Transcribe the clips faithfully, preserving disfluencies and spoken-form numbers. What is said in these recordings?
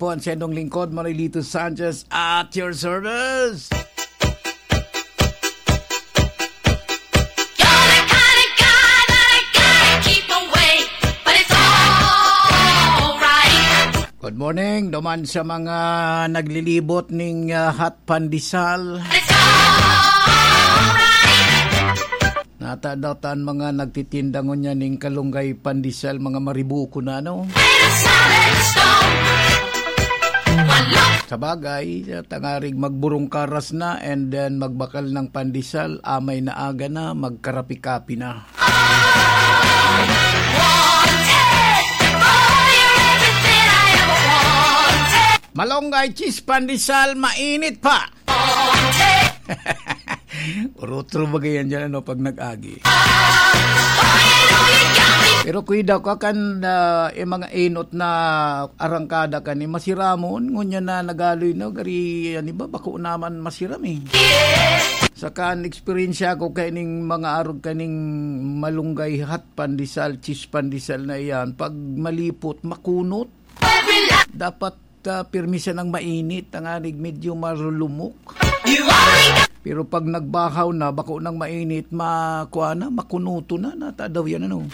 po ang sendong lingkod, Marilito Sanchez, at your service. You're the kind of guy that I gotta keep away, but it's alright. Good morning, duman sa mga naglilibot ning, ah, hot pandesal. It's alright. Nata daw tan mga nagtitinda ngunyan ning kalunggay pandesal, mga maribuko na, no? Made of solid stone. One look. Sa bagay, sa tangarig magburong karas na and then magbakal ng pandesal, amay na aga na, magkarapi-kapi na. Wanted. Boy, you're everything I ever wanted. Malunggay cheese pandesal, mainit pa. Urutro ba yan dyan, ano, pag nag-agi? Pero kuidaw ka kan, ah, yung mga enot na arangkada kan, eh, masiramon, ngunyan na nagaloy na, gari, ano ba, bako naman masiram, eh. Saka, an eksperyensya ko kaining mga arog kaning malunggay hot pandesal, cheese pandesal na iyan, pag malipot, makunot. Dapat ah, pirmi siya ng mainit, tangarig medyo marulumok. Pero pag nagbahaw na, bako ng mainit, ma-, kuha na, makunuto na, nata daw yan, ano.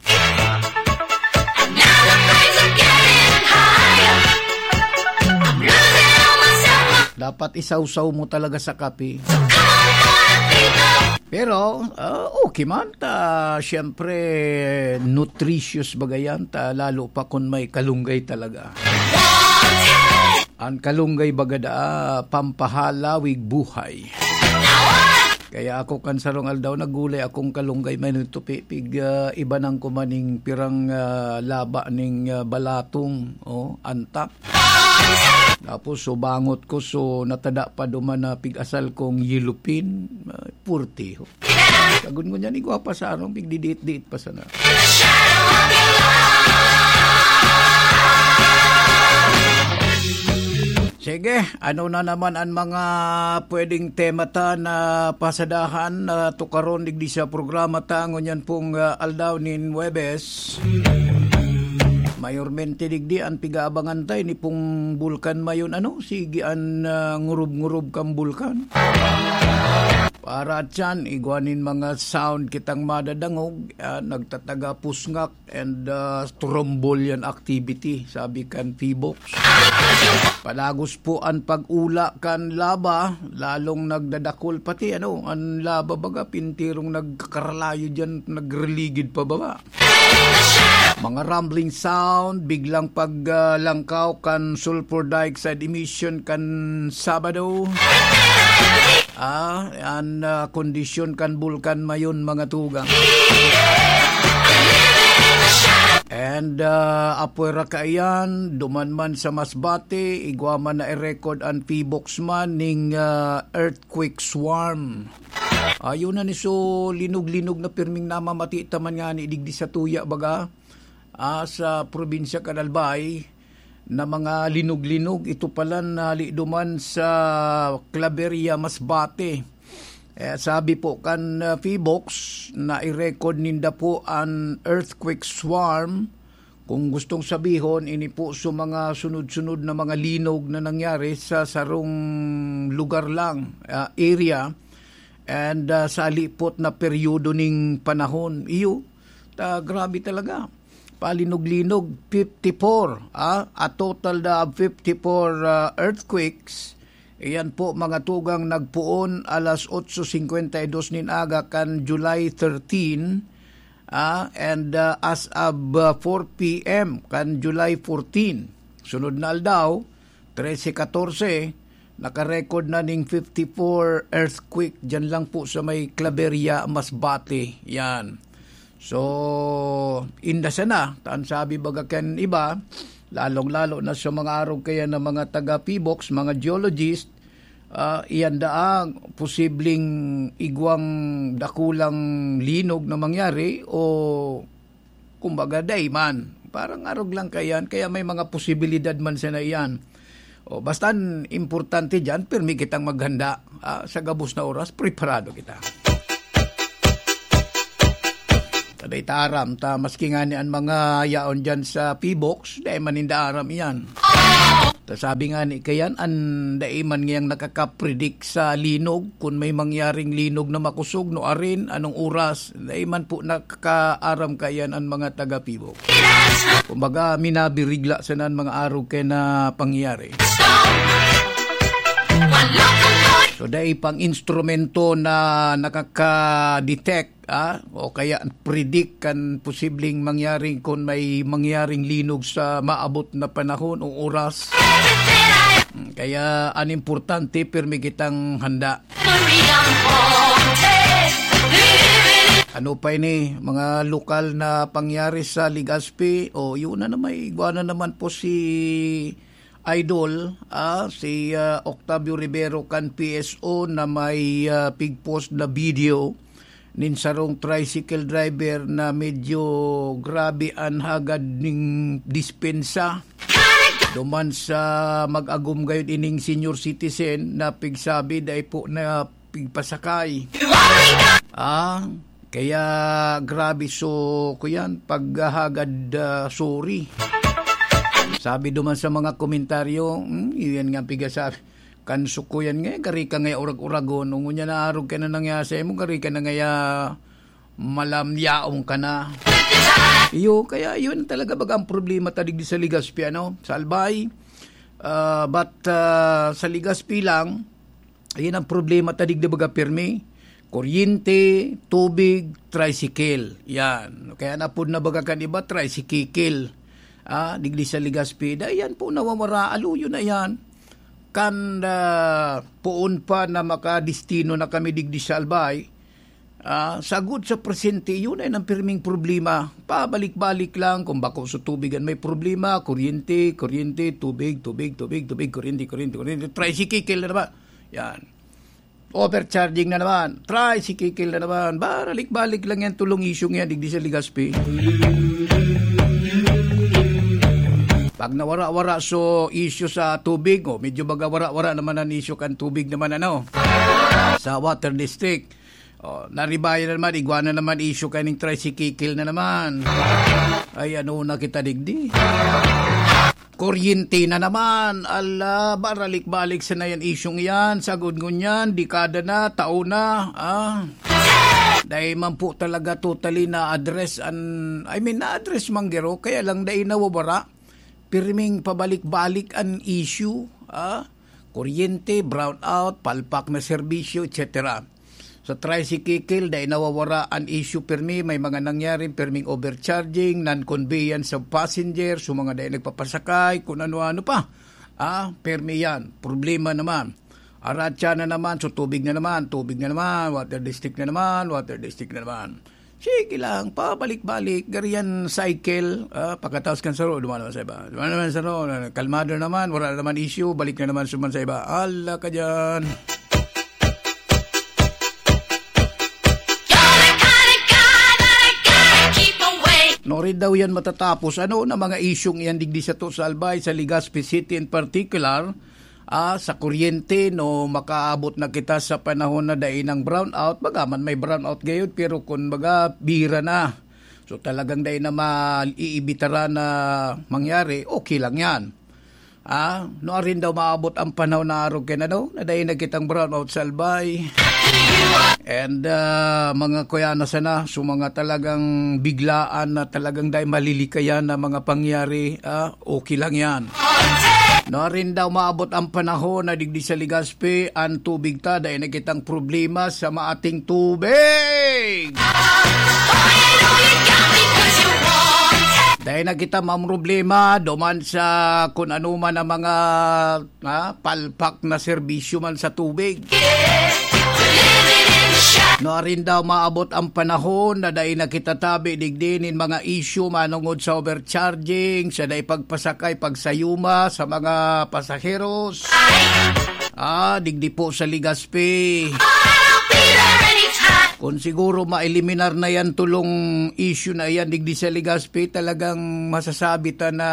Dapat isawsaw mo talaga sa kape. Pero, ah, okay man. Ta, siyempre, nutritious baga yan. Ta, lalo pa kung may kalunggay talaga. An kalunggay baga daa, pampahalawig buhay. Kaya ako kan sarong aldaw, naggulay akong kalunggay, may nagtupi, pig, ah, ibanan ko man ning pirang, ah, laba ning, ah, balatong, oh, antak. Tapos, so, bangot ko, so, natada pa duman na pig-asal kong yellow fin, ah, purtiho. Sagun ko niyan, igwa pa sa ano, pigdidiit-diit pa sana. Sige, ano na naman ang mga pwedeng tema ta na pasadahan na tukaron digdi sa programa ta ngunyan pong, ah, aldaw nin Huwebes? Mayormente digdi an pigaabangan ta, ini pong bulkan mayon, ano, sige an, ah, ngurub-ngurub kan bulkan. Para tiyan, igwa nin mga sound kitang madadangog, ah, nagtataga pusngak and, ah, strombolian activity, sabi kan Phibox. Palagos po an pag-ula kan laba, lalong nagdadakul, pati ano, an laba baga, pintirong nagkakaralayo diyan, nagriligid pababa. Mga rumbling sound, biglang pag, ah, langkaw kan sulfur dioxide emission kan Sabado. Ah, an, ah, kondisyon kan bulkan mayon, mga tugang. And, ah, apwera kaiyan, duman man sa Masbate, igwa man na i-record an Phibox man ning, ah, earthquake swarm. Ayun na ni, so, linog-linog na pirming namamati ta man ngani digdi sa tuya, baga, ah, sa probinsya kan Albay, na mga linog-linog, ito pala nali duman sa Claveria, Masbate. Eh, sabi po kan, ah, Phibox, na i-record ninda po an earthquake swarm. Kung gustong sabihon, ini po sa mga sunod-sunod na mga linog na nangyari sa sarong lugar lang, ah, area, and, ah, sa lipot na peryodo ning panahon. Iyo, ta, grabe talaga. Palinog-linog, fifty-four, ah, a total na of fifty-four, ah, earthquakes. Iyan po, mga tugang, nagpoon alas otso cincuenta y dos nin aga kan July thirteen, ah, and, ah, as of, ah, four p m kan July fourteen. Sunod na aldaw, trese katorse, nakarecord na ning fifty-four earthquake dyan lang po sa may Claveria, Masbate. Yan. So, inda sana, ta an sabi baga kan iba, lalong-lalo na sa mga arog kaya na mga taga-Phibox, mga geologist, ah, iyan daang posibleng igwang dakulang linog na mangyari o kumbaga, dai man. Parang arog lang kaiyan, kaya may mga posibilidad man sana iyan. O, basta an importante diyan, pirmi kitang maghanda, ah, sa gabos na oras, preparado kita. Ta dai ta aram, ta maski ngani an mga yaon diyan sa Phibox, dai man ninda aram iyan. Sabi nga ni kayan, an dai man ngayang nakakapredict sa linog, kun may mangyaring linog na makosog, no arin, anong oras, dai man po nakakaaram kayan an mga taga-Pibok. Kumbaga, minabirigla sana an mga arog kaya na pangyayari. So, dai pang instrumento na nakaka-detect, ah, o kaya predict kan posibleng mangyari kun may mangyaring linog sa maabot na panahon o oras. Mm, kaya an importante, pirmi kitang handa. Ano pa ini, mga lokal na pangyari sa Legazpi? O, yun na naman, igwa na naman po si Idol, ah, si, ah, Octavio Rivero kan P S O na may, ah, pigpost na video nin sarong tricycle driver na medyo grabe an hagad ning dispensa. Duman sa mag-agom gayod ining senior citizen na pigsabi dai po na pigpasakay. Ah, kaya grabe. So, kuyan, paghahagad, ah, sorry. Sabi duman sa mga komentaryo, "Hmm, iyan nga pigasabi. Kan suko yan nga, gari ka nga orag-oragon. Ngunyan na arog ka na nangyasa mo, gari ka na ngaya malamyaon ka na." Iyo, kaya yun talaga baga ang problema ta digdi sa Legazpi, ano? Sa Albay, ah, but, ah, sa Legazpi lang, ayan ang problema ta digdi baga pirmi. Kuryente, tubig, tricycle. Yan. Kaya napod na baga kan iba, tricycle. Ah, digdi sa Legazpi. Dai yan po nawawara. Aluyo na yan. Kan, ah, poon pa na makadestino na kami digdi sa Albay, ah, sagod sa presente, yun ay ang pirming problema. Pabalik-balik lang. Kung bako sa tubig an may problema, kuryente, kuryente, tubig, tubig, tubig, tubig, kuryente, kuryente, kuryente, tricycle na naman. Yan. Overcharging na naman, tricycle na naman. Baralik-balik lang yan, tulong issue yan, digdi sa Legazpi. Pag nawara-wara so issue sa tubig, oh, medyo baga wara-wara naman ang issue kan tubig naman, ano, sa water district. Oh, naribayan na naman, igwa na naman issue kaning tricycle na naman. Ay, ano na kita digdi? Kuryente na naman. Ala, baralik-balik sa na yan isyung yan. Sagod ngunyan, dekada na, taon na. Ah. Dahil man po talaga totally na-address an, I mean, na-address man garo, kaya lang dahil nawawara. Pirming pabalik-balik an issue. Ah. Kuryente, brownout, palpak na serbisyo, et cetera. Sa tricycle, dai nawawara an issue pirmi, may mga nangyari, pirming overcharging, non-conveyance of passengers, so mga dai nagpapasakay, kung ano-ano pa. Ah, pirmi yan. Problema naman. Aratsa na naman, so tubig na naman, tubig na naman, water district na naman, water district na naman. Sige lang, pabalik-balik, gari yan cycle, ah, pagkatapos kan saro, duman naman sa iba. Duman naman sa saro, kalmado naman, wala naman issue, balik na naman suman sa iba. Ala ka dyan. Norin daw yan matatapos. Ano na mga isyung yan digdi sa to sa Albay, sa Legazpi City in particular? Ah, sa kuryente, no, makaabot na kita sa panahon na dai nang brownout. Baga man may brownout gayod, pero kun baga, bira na. So, talagang dai na maiibitara na mangyari, okay lang yan. Ah, no, arin daw maabot ang panahon na arog kaya na daw, na dai na kitang brownout sa Albay. And, ah, mga kuya na sana, so mga talagang biglaan na talagang dai malilikayan na mga pangyari, ah, okay lang yan. No, arin daw maabot ang panahon na digdi sa Legazpi, an tubig ta, dai na kitang problema sa maating tubig. Dai na kita mamroblema duman sa kun ano man ang mga, ah, palpak na serbisyo man sa tubig. No, arin daw maabot ang panahon na dai na kita tabi digdi nin mga isyu manongod sa overcharging, sa dai pagpasakay, pagsayuma sa mga pasaheros. Ah, digdi po sa Legazpi. Kung siguro ma-eliminar na yan, tulong issue na yan, digdi sa Legazpi, talagang masasabi ta na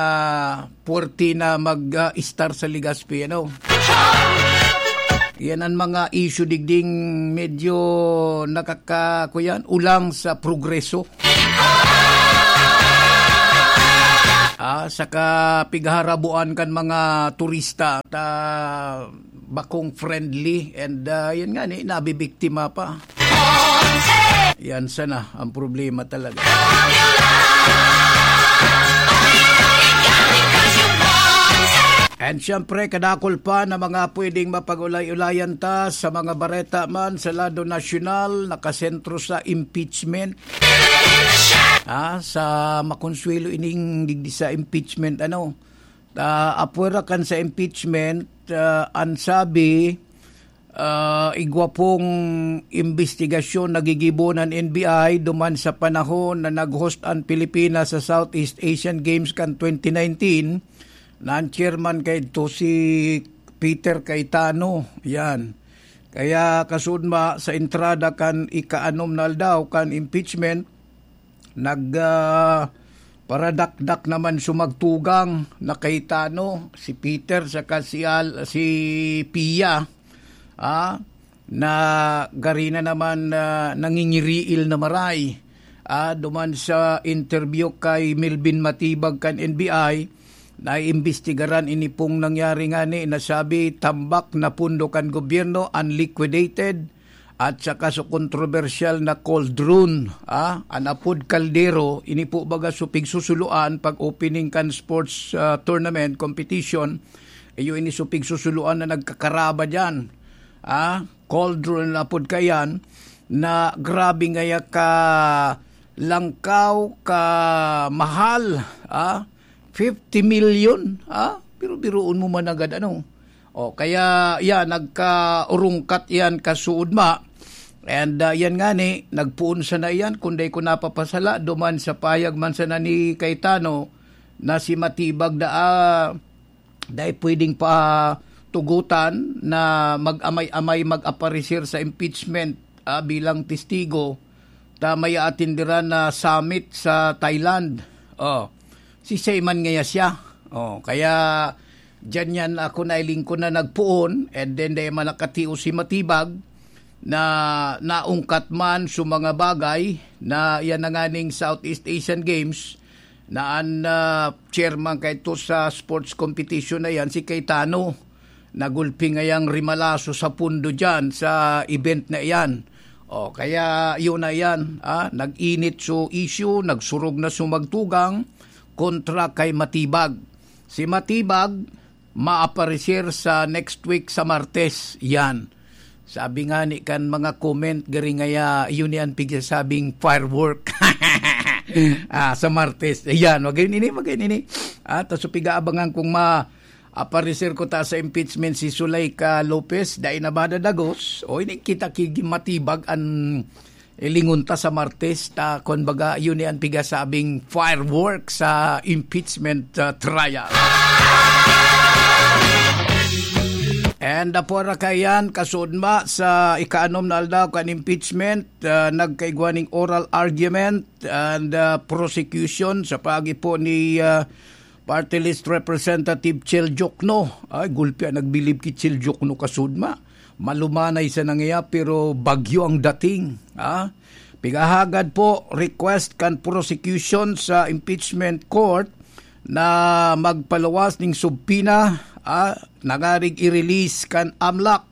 puwerte na mag, ah, estar sa Legazpi, ano? Yan ang mga issue digding medyo nakaka-, kuyan, ulang sa progreso. ah, saka pighaharabuan kan mga turista ta bakong friendly and, ah, yan nga ni, nabibiktima pa. Yan sana ang problema talaga. And siyempre, kadakol pa na mga pwedeng mapag-ulay-ulayan ta sa mga bareta man sa lado nasyonal, nakasentro sa impeachment. Ah, sa makonsuelo ining digdi sa impeachment, ano, ah, apwera kan sa impeachment, ah, an sabi, ah, igwa pong imbestigasyon na gigibo nin N B I duman sa panahon na nag-host an Pilipinas sa Southeast Asian Games kan twenty nineteen, na an chairman kaidto si Peter Cayetano. Yan. Kaya kasunod ma, sa entrada kan ikaanom na aldaw kan impeachment, nag, ah, paradakdak naman sumagtugang na Cayetano, si Peter saka si Al-, si Pia, ah, na gari na naman, ah, nangingiriil na maray. Ah, duman sa interview kay Melvin Matibag kan N B I, naiimbestigaran ini pong nangyari ngani na sabi tambak na pondo kan gobyerno unliquidated at saka sa kontrobersyal na cauldron, ah, an apod kaldero, ini po baga so pigsusuluan pag opening kan sports, ah, tournament competition, iyo ini so pigsusuluan na nagkakaraba diyan. Ah, cauldron na apod kaiyan na grabe ngaya ka langkaw, ka mahal, ah, fifty million, ah, biro-biroon mo man agad, ano. O, kaya, yan, nagkaurungkat yan, kasuod ma. And, ah, yan nga ni, nagpoon sana iyan, kung dai ko napapasala, duman sa pahayag man sana ni Cayetano, na si Matibag da, ah, dai pwedeng patugutan na mag-amay-amay mag-aparecer sa impeachment, ah, bilang testigo, ta may aatenderan na summit sa Thailand. Oh, si Seyman ngaya siya. Oh, kaya diyan yan ako nailingkod na nagpoon, and then dai man nakatios si Matibag na naungkat man sa mga bagay na yan na nga ning Southeast Asian Games na an, ah, chairman kaito sa sports competition na yan, si Cayetano. Nagulpi ngayang rimalaso sa pundo diyan sa event na iyan. O, kaya yun na yan, ah, nag-init so issue, nagsurog na sumagtugang kontra kay Matibag. Si Matibag, maaparecer sa next week sa Martes. Yan. Sabi nga ni kan mga comment, gari ngaya, yun yan pigsasabing firework. Ah, sa Martes. Ayan, magayon ini, magayon ini. Ah, ta so pigaabangan kung ma-, aparecer ko ta sa impeachment si Zuleika Lopez, dai na ba dadagos? O, ini kita ki Matibag an ilingon ta sa Martes, ta, kun baga, yun ni an pigasabing firework sa impeachment, ah, trial. And, ah, apwera kaiyan, kasuod ma, sa ikaanom na aldaw kan impeachment, ah, nagkaigwa ning oral argument and, ah, prosecution sa paagi po ni, ah, Party List Representative Chel Diokno. Ay, gulpi an nagbilib ki Chel Diokno, kasuod ma. Malumanay sa nangyaya, pero bagyo ang dating, ha? Pigahagad po, request kan prosecution sa impeachment court na magpaluwas ning subpoena, ah, nangarig i-release kan amlak.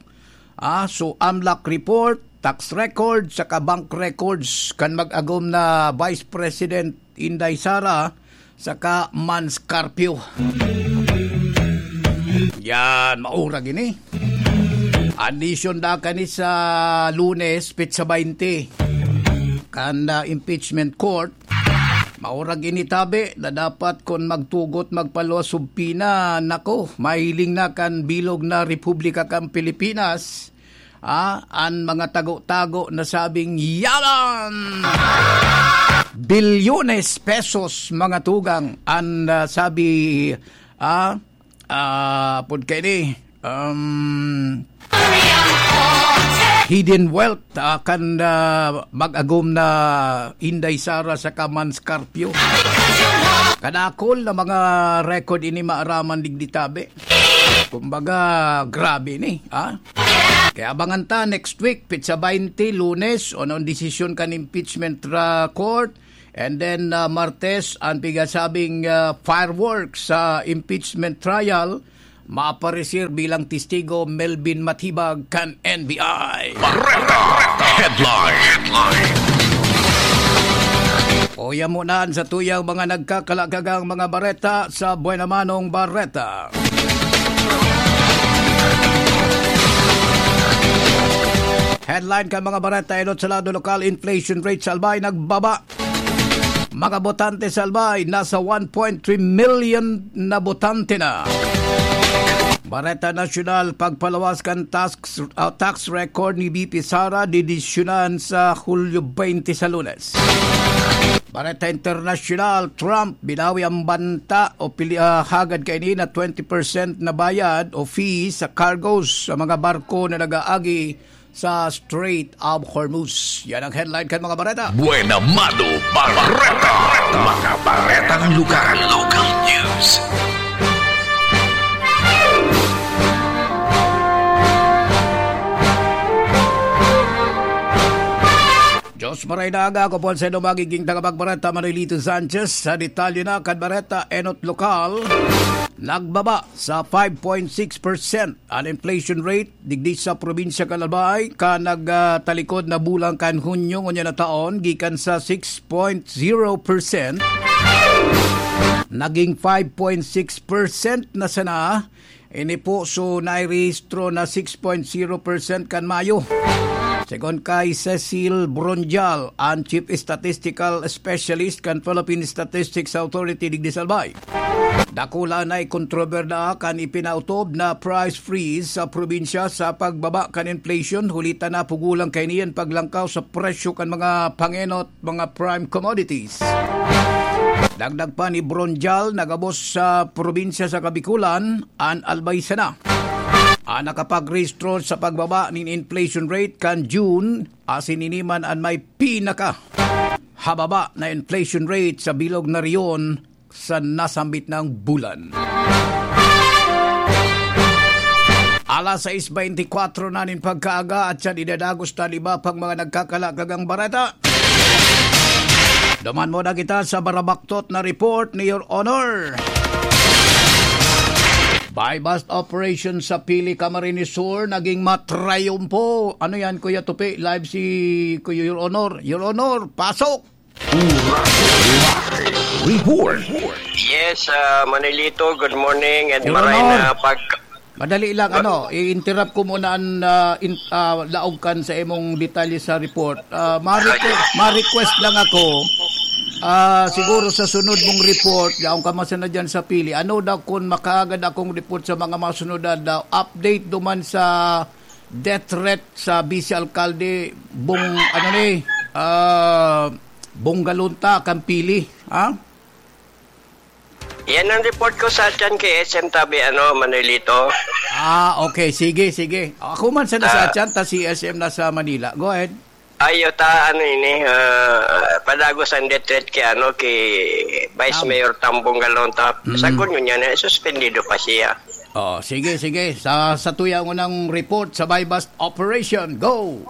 Ah, so, amlak report, tax record, saka bank records kan mag-agom na Vice President Inday Sara, saka Mans Carpio. Yan, maurag ini. An desisyon da kani sa Lunes, petsa baynte, kan, ah, impeachment court. Maurag ini tabi na dapat kun magtugot, magpaluwas subpoena, nako, mahiling na kan bilog na Republika kan Pilipinas, ah, an mga tago-tago na sabing yaman! Bilyones pesos, mga tugang, an, ah, sabi, ah, ah, apod kaini, um, hidden wealth, ah, kan, ah, mag-agom na Inday Sara saka Mans Carpio. Kadakol na mga record ini maaraman digdi tabi. Kumbaga, grabe ni, ha? Kaya abangan ta next week, petsa baynte, Lunes, ano ang desisyon kan impeachment, ah, court. And then, ah, Martes, ang pigasabing, ah, fireworks sa impeachment trial, maaparecer bilang testigo Melvin Matibag kan N B I. Bareta Headline. Uya mo na sa tuyang mga nagkakalakagang mga bareta sa Buena Manong Bareta. Headline kan mga bareta, enot sa lado lokal, inflation rate sa Albay nagbaba. Mga botante sa Albay, nasa one point three million na botante na. Bareta Nasyonal, pagpalawas kan tax, ah, tax record ni V P Sara, didesisyonan sa Hulyo twenty sa Lunes. Bareta Internasyonal, Trump, binawi ang banta o pili, ah, hagad kaini na twenty percent na bayad o fee sa cargos sa mga barko na nag-aagi sa Strait of Hormuz. Yan ang headline kan mga bareta. Buena Mano Bareta. Mga baretang lugar. Local news. Diyos maray na aga, ako po ang sa inyo magiging tagapagbareta, Manuelito Sanchez. Sa detalye na kan bareta, enot lokal, nagbaba sa five point six percent an inflation rate digdi sa probinsya kan Albay, kan nagtalikod na bulan kan Hunyo ngunyan na taon, gikan sa six point zero percent, naging five point six percent na sana. Ini po, so, nairehistro na six point zero percent kan Mayo. Segun kay Cecil Bronjal, an Chief Statistical Specialist kan Philippine Statistics Authority digdi sa Albay, dakula na ikontroberda kan ipinautob na price freeze sa probinsya sa pagbaba kan inflation, huli ta napugulang kaini an paglangkaw sa presyo kan mga pangenot, mga prime commodities. Dagdag pa ni Bronjal, nagabos sa probinsya sa Kabikulan an Albay sana, an nakapagrehistro sa pagbaba nin inflation rate kan June, asin ini man an may pinaka hababa na inflation rate sa bilog na rehiyon sa nasambit na bulan. Alas sais beintikwatro na nin pagkaaga at siya idadagos ta an iba pang mga nagkakalakagang bareta. Duman muna kita sa barabaktot na report ni Your Honor. Buy-bust operation sa Pili, Camarines Sur naging matrayumpo. Ano yan, Kuya Tupi? Live si Kuya Your Honor. Your Honor, pasok! Report. Yes, ah, Manilito, good morning and Your maray Honor. na pag- Madali lang, ano, i-interrupt ko muna ang, ah, in-, ah, laog kan sa imong detalye sa report. Ah, ma-request, ma-request lang ako. Ah, siguro sa sunod mong report, yaon ka man sana dyan sa Pili. Ano daw kung makaagad akong report sa mga masunod na daw? Update duman sa death threat sa vice alkalde, Bong, ano ni, ah, Bong Galunta, kan Pili, ha? Yan ang report ko sa atyan kay S M tabi, ano, Manuelito. Ah, okay. Sige, sige. Ako man sa nasa Ah. atyan, ta si S M nasa Manila. Go ahead. Ayo ta, ano ini, ah, padagos ang death threat kay, ano, kay Vice Tam- Mayor Tambong Galonta. Mm. Sagkod ngunyan, eh, suspendido pa siya. Oh, sige, sige. Sa, sa tuyang unang report sa buy-bust operation, go!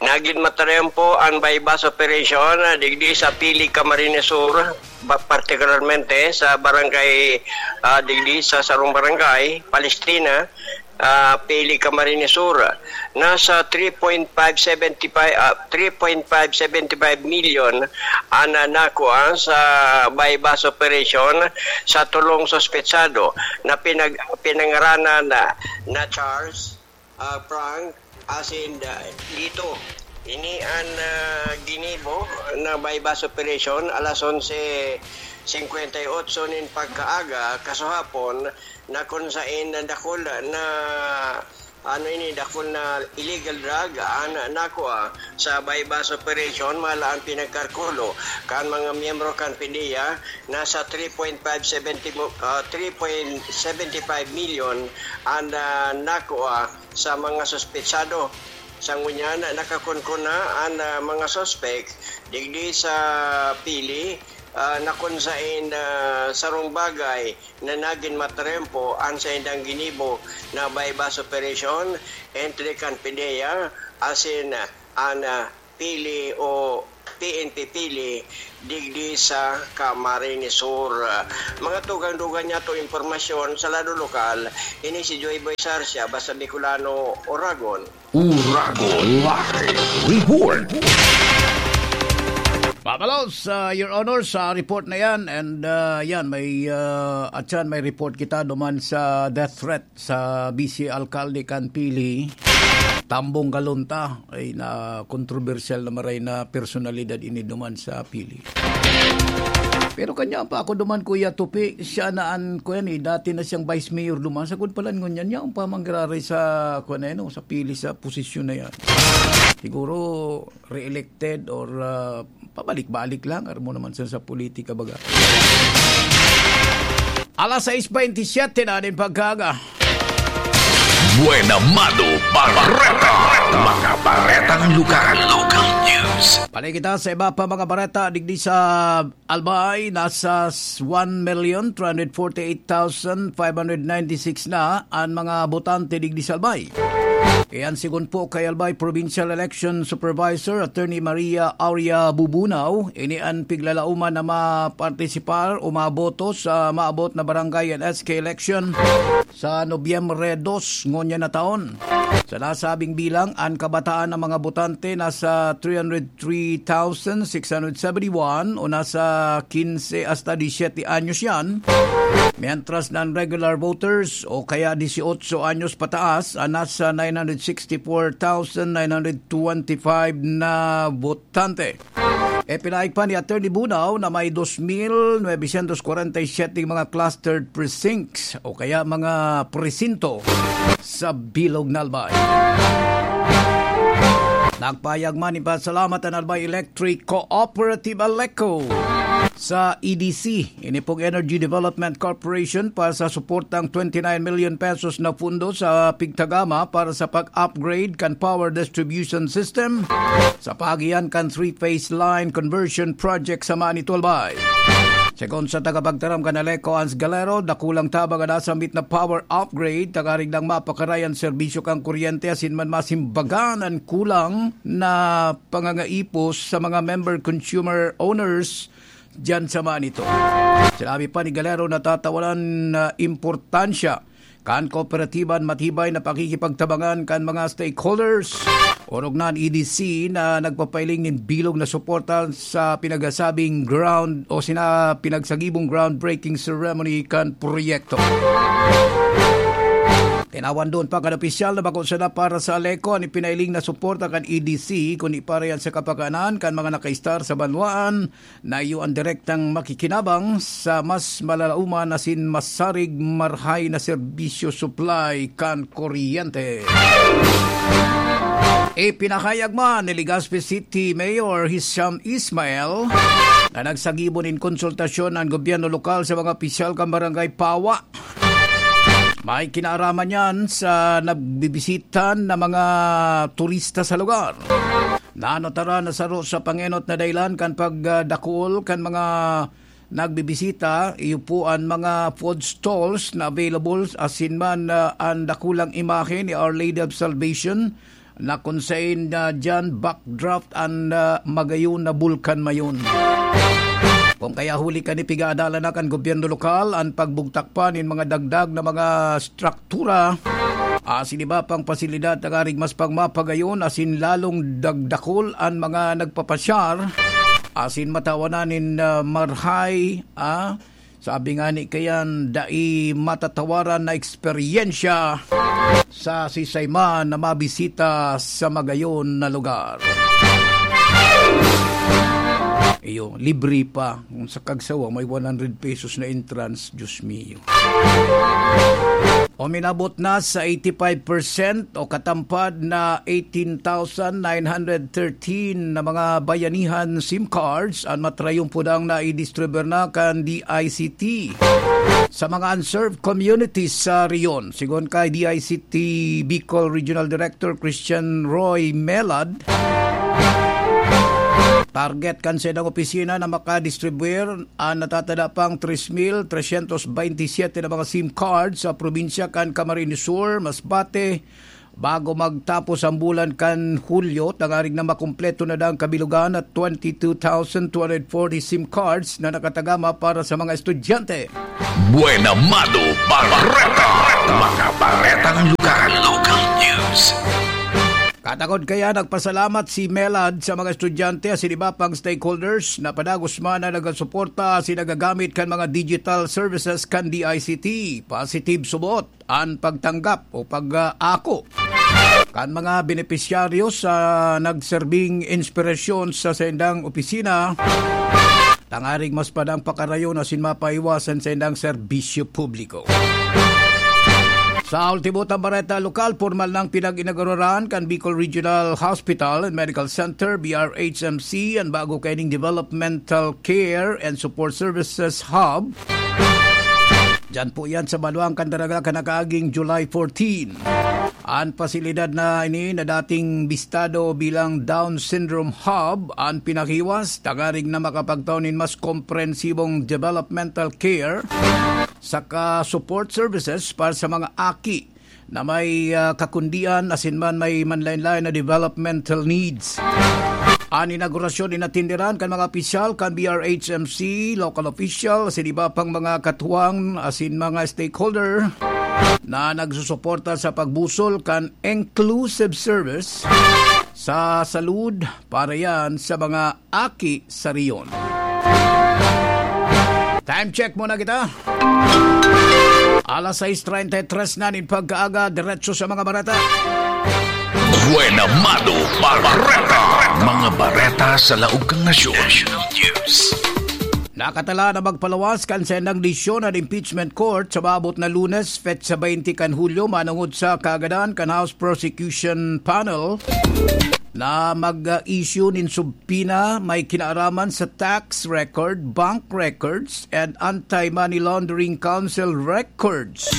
Nagin matrayumpo ang buy-bust operation, ah, digdi sa Pili, Camarines Sur, ba-, partikularmente sa barangay, ah, digdi sa sarong barangay, Palestrina, ah, Pili, Camarines Sur. Nasa three point five seventy-five, ah, three point five seventy-five million ang, ah, nakua sa buy-bust operation sa tolong suspetsado na pinag-, pinangaranan na, na Charles, ah, Frank, asin, ah, Lito. Ini an, ah, ginibo na buy-bust operation alas onse singkwenta y otso nin pagkaaga kasuhapon, na kun saen dakul na, ano ini, dakul na illegal drug an nakua sa buy-bust operation, mala an pinagkalkulo kan mga miyembro kan PDEA, nasa three point five seventy mo-, ah, three point seventy five million an, ah, nakua sa mga suspetsado. Sa ngunyan, nakakunkuna an, ah, mga suspek digdi sa Pili, ah, na kun saen, ah, sarong bagay na nagin matrayumpo an saindang ginibo na buy-bust operation entre kan PDEA asin an, ah, Pili o T N T Pili digdi sa Camarines Sur. Mga tugang-dugang niya to impormasyon sa lado lokal, ini si Joy Boy Sarsia, basta Bicolano, Oragon. Uragon Live Report. Papalos, uh, Your Honor, sa report na yan. And uh, yan, may, uh, at yan, may report kita duman sa death threat sa vice alkalde kan Pili, Tambong Galunta, ay na kontrobersyal na maray na personalidad ini duman sa Pili. Pero kanya pa ako duman, Kuya Tupi, siya na an, kuya ni, dati na siyang vice mayor duman. Sagod pala ngunyan niya, ang pamanggraray sa, kuya na yan, oh, sa Pili sa posisyon na yan. Siguro, re-elected or ah, pabalik-balik lang. Aram mo naman sa, sa politika, baga. Alas sais bentisiete na din pagkaga. Buena Mano Bareta. Mga baretang lugar. Local news. Balik kita sa iba pa mga bareta. Digdi sa Albay, nasa one million three hundred forty-eight thousand five hundred ninety-six na an mga botante digdi sa Albay. Iyan sigon po kay Albay Provincial Election Supervisor Attorney Maria Aurea Bubunaw, ini an piglalauman na mapartisipar o maboto sa maabot na barangay and S K election sa Nobyembre dos ngunyan na taon. Sa nasabing bilang, an kabataan ng mga botante nasa three hundred three thousand six hundred seventy-one o nasa quince hasta diecisiete anyos yan, mientras na an regular voters o kaya dieciocho anyos pataas an nasa nine hundred sixty-four thousand nine hundred twenty-five na botante. Ipinahayag pa ni Attorney Bunaw na may dos mil novecientos kwarenta y siyete mga clustered precincts o kaya mga presinto sa bilog na Albay. Nagpahayag man nin pasalamat an Albay Electric Cooperative, Aleco, sa E D C, ini pong Energy Development Corporation, para sa suportang twenty-nine million pesos na pundo sa pigtagama para sa pag-upgrade kan power distribution system sa paagihan kan three-phase line conversion project sa Manito, Albay. Segun sa tagapagtaram kan Aleco, Hans Galero, dakulang tabang an nasambit na power upgrade, tanganing lang mapakaray an serbisyo kan kuryente asin man masimbagan an kulang na pangangaipos sa mga member consumer owners diyan sa Manito. Sinabi pa ni Galero na tatawanan na importansya kan kooperatiba an matibay na pakikipagtabangan kan mga stakeholders, orog na an E D C na nagpapailing nin bilog na suporta sa pinagsasabing ground o sina pinagsagibong groundbreaking ceremony kan proyekto. Tinawan doon pa kan opisyal na bako sana para sa Aleco an ipinailing na suporta kan E D C, kundi para yan sa kapakanan kan mga nakaistar sa banwaan na iyo an direktang makikinabang sa mas malalauman asin masarig marahay na serbisyo supply kan kuryente. Ipinahayag man ni Legazpi City Mayor Hisham Ismail na nagsagibo nin konsultasyon an gobyerno lokal sa mga opisyal kan Barangay Pawa. May kinaaraman yan sa nagbibisita na mga turista sa lugar. Nanotara na saro sa pangenot na dahilan kan pagdakul kan mga nagbibisita, iyo po an mga food stalls na available asin man, ah, an dakulang imahe ni Our Lady of Salvation na kun saen, ah, diyan backdrop an, ah, magayon na bulkan mayon. Kung kaya huli kan pigaadalan na kan gobyerno lokal an pagbugtak pa nin mga dagdag na mga struktura, asin iba pang pasilidad tanganing mas pagmapagayon asin lalong dagdakol an mga nagpapasyar, asin matawanan nin, ah, marahay, ah, sabi nga ni kayan, dai matatawaran na eksperyensya sa sisay man na mabisita sa magayon na lugar. Iyo, libre pa. Kung sa kagsawa, may one hundred pesos na entrance, Diyos mio. Uminabot na sa eighty-five percent o katampad na eighteen thousand nine hundred thirteen na mga bayanihan SIM cards an matrayong pudang na i-distribute na kan D I C T sa mga unserved communities sa rehiyon. Sigon kay D I C T Bicol Regional Director Christian Roy Melad, target kan saindang opisina na makadistribuir an natatada pang tres mil tresyentos bentisiete na mga SIM card sa probinsya kan Camarines Sur, Masbate, Bago magtapos ang bulan kan Hulyo, tangarig na makumpleto na daang kabilugan at twenty-two thousand two hundred forty SIM cards na nakatagama para sa mga estudyante. Buena Mano Bareta. Mga baretang lugar. Local news. Katakod kaya, nagpasalamat si MELAD sa mga estudyante asin iba pang stakeholders na padagos man na nagasuporta asin nagagamit kan mga digital services kan D I C T. Positive subot an pagtanggap o pag-aako kan mga benepisyaryo sa nagserbing inspirasyon sa saindang opisina, tangarig mas padang pakarayon asin mapaiwasan saindang serbisyo publiko. Sa ultimo tang bareta lokal, pormal nang pinag-inauguraran kan Bicol Regional Hospital and Medical Center, B R H M C, an bago kaining Developmental Care and Support Services Hub. Diyan po yan sa Baluang, Candaraga, kan nakaaging July fourteen. An pasilidad na ini na dating bistado bilang Down Syndrome Hub an pinahiwas, tangarig na makapagtao nin mas komprehensibong developmental care saka support services para sa mga aki na may, ah, kakundian asin man may manlaen-laen na developmental needs. An inaugurasyon inatenderan kan mga opisyal kan B R H M C, local official, asin iba pang mga katuwang asin mga stakeholder na nagsusuporta sa pagbusol kan inclusive service sa salud para yan sa mga aki sa rehiyon. Time check muna kita. Alas sais treinta y tres na nin pagkaaga, diretso sa mga bareta. Buena Mano Bareta. Mga bareta sa laog kan nasyon. National News. Nakatala na magpalawas kan saindang desisyon an impeachment court sa maabot na Lunes, petsa twenty kan Hulyo, manongod sa kaagadan kan House Prosecution Panel na mag-issue nin subpoena may kinaaraman sa tax record, bank records, and anti-money laundering council records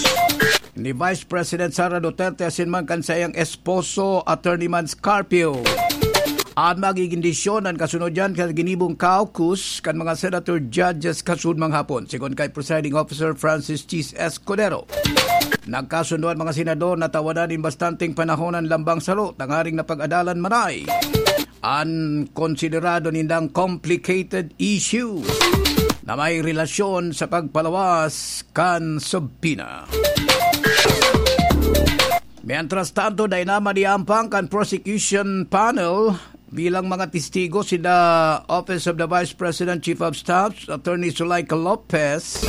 ni Vice President Sara Duterte asin man kan saiyang esposo, Attorney Mans Carpio. An magiging desisyon an kasunod diyan kan ginibong caucus kan mga senator judges kasunod manghapon, sigon kay Presiding Officer Francis Chis Escudero. Nagkasundo an mga senador na tawadan nin bastanteng panahon an lambang saro tangaring napag-adalan maray an konsiderado nindang complicated issue na may relasyon sa pagpalawas kan subpoena. Mientras tanto, dai na maniampang kan prosecution panel bilang mga testigo sina Office of the Vice President Chief of Staff, Attorney Zuleika Lopez,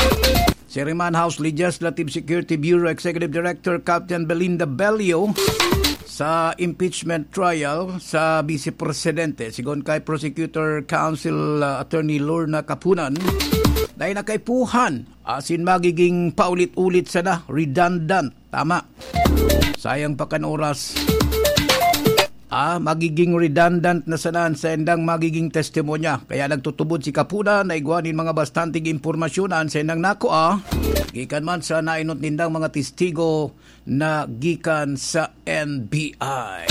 si Riman House Legislative Security Bureau Executive Director Captain Belinda Bello sa impeachment trial sa Vice Presidente. Sigon kay Prosecutor Counsel, uh, Attorney Lorna Kapunan, dai na kaipuhan asin magiging paulit-ulit sana, redundant. Tama. Sayang pa kan oras. Ah, magiging redundant na sana an saindang magiging testimonya. Kaya nagtutubod si Kapuna na igwa nin mga bastanteng impormasyon na an saindang nakua, gikan man sa nainot nindang mga testigo na gikan sa N B I.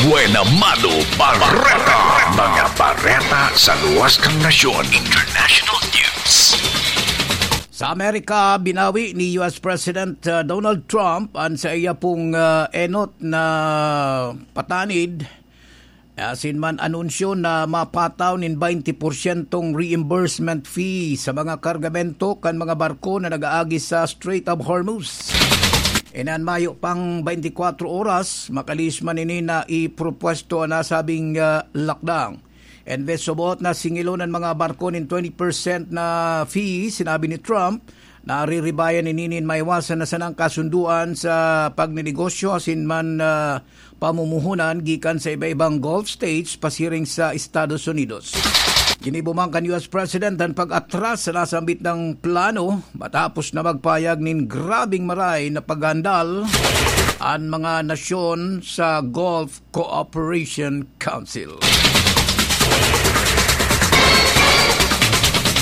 Buena Mano Bareta. Mga bareta sa luwas kan nasyon. International News. Sa Amerika, binawi ni U S President, uh, Donald Trump an saiya pong, uh, enot na patanid. Asin man anunsyo na mapataw nin baynte porsyentong reimbursement fee sa mga kargamento kan mga barko na nag-aagi sa Strait of Hormuz. Inan mayo pang baynte kwatro oras, makalihis man ini na ipropwesto an nasabing, ah, lockdown. Embes subot na singilon an mga barko nin twenty percent na fee, sinabi ni Trump, nariribayan ini nin maiwasan na sanang kasunduan sa pagnenegosyo asin man, ah, pamumuhunan gikan sa iba-ibang Gulf states pasiring sa Estados Unidos. Ginibo man kan U S President an pag-atras sa nasambit na plano matapos na magpahayag nin grabing maray na paghandal an mga nasyon sa Gulf Cooperation Council.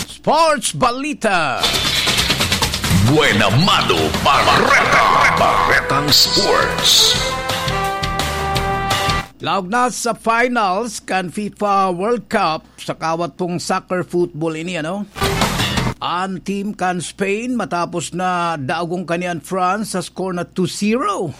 Sports Balita. Buena Mano Bareta. Baretang Sports. Laog na sa finals kan FIFA World Cup sa kawat pong soccer football ini, ano? An team kan Spain matapos na daogong kanian France sa score na two zero.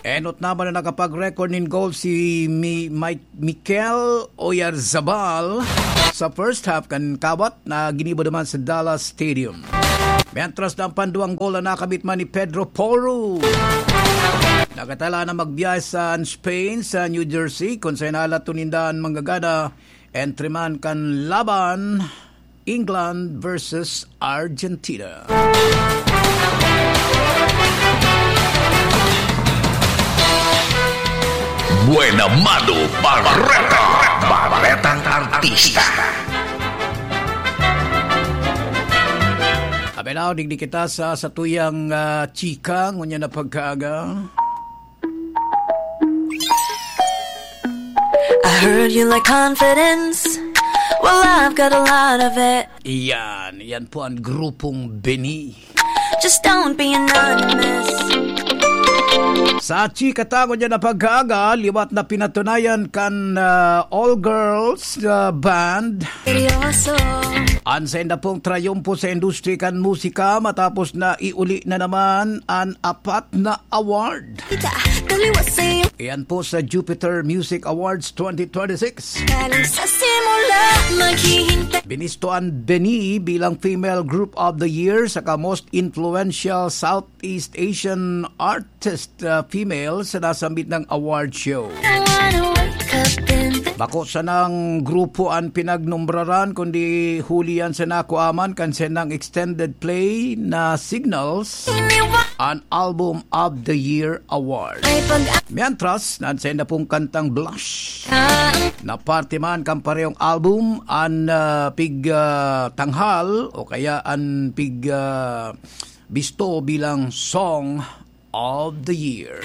Enot naman na nakapag-record nin goal si Mi-, Mi-, Mikel Oyarzabal sa first half kan kawat na ginibo naman sa Dallas Stadium. Mientras na ang panduwang goal na nakamit man ni Pedro Porro. Nakatala na magbiyahe sa Spain, sa New Jersey, kung saan nalato ninda an manggagana entre man kan laban England versus Argentina. Buena Mano Barreta, Barretang Artista. Abay na, digdi kita sa satuyang, ah, chika, ngunyan na pagkaaga. I heard you like confidence. Well, I've got a lot of it. Iyan, iyan po ang grupong Beni. Just don't be anonymous. Sa chika ta ngunyan na pagkaaga, liwat na pinatunayan kan, ah, all girls, ah, band. Seryoso. An sainda pong trayumpo sa industri kan musika matapos na iuli na naman an apat na award. Kita, taliwas sa'yo. Iyan po sa Jupiter Music Awards twenty twenty-six. Galing sa simula, maghihintay. Binisto an Beni bilang Female Group of the Year saka Most Influential Southeast Asian Artist, uh, Female sa nasambit na award show. Bako sanang grupo an pinagnombraran, kundi huli yan sa nakuaman kan sendang extended play na Signals, an Album of the Year Award. Mientras, nansenda pong kantang Blush na parte man kan parehong album, an, ah, pig, ah, tanghal o kaya an pig, ah, bisto bilang Song of the Year.